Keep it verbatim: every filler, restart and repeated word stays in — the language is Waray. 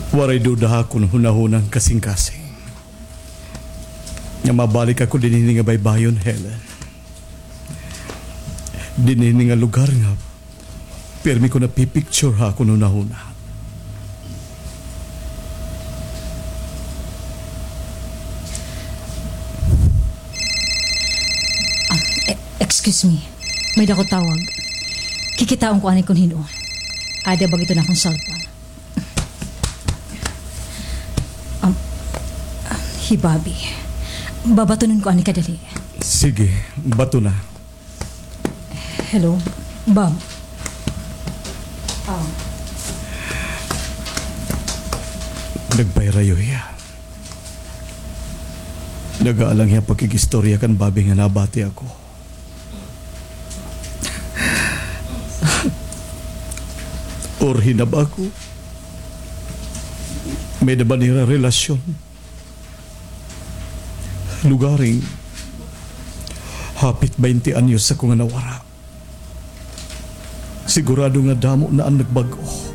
Waray duda ha akon hunahuna an kasingkasing nga mabalik ako dinhi nga baybayon, Helen. Dinhi nga lugar nga pirmi ko napipicture ha akon hunahuna. Ah, e-, excuse me. May dako tawag. Kikitaon ko ani kon hin-o. Ada ba ito na akong cellphone? Um, hi Bobby. Babatonon ko ani kadali. Sige, bato na. Hello, Bob. Ah. Nagpahirayo hiya. Nag-aalang hiya pakig-istorya kan Bobby nga nabati ako. Or hinab ako. May-ada ba nira relasyon? Lugaring, hapit baynte anyos ako nga nawara. Sigurado nga damo na an nagbag-o.